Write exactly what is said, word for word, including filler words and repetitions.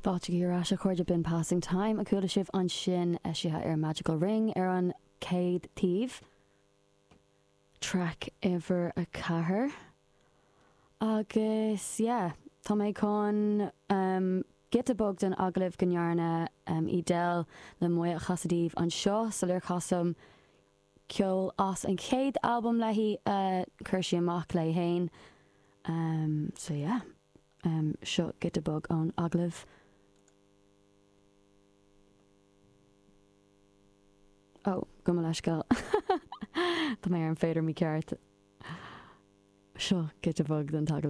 Fáilte ar ais a chairde b'in Passing Time a chuala sibh ansin eisithe ar Magical Ring ar an chéad taobh. Track uimhir a ceathair. Agus yeah, tá mé chun um, giota beag den agallamh go ndearna um, Edel le Moya a chasadh daoibh anseo sular chasaim ceol as an chéad albam léi uh, chuir sí amach léi féin. Um, so yeah, um, seo giota beag ón agallamh. Ó, gabh mo leithscéal. Tá mé ar an fader mícheart. Seo giota beag den agallamh.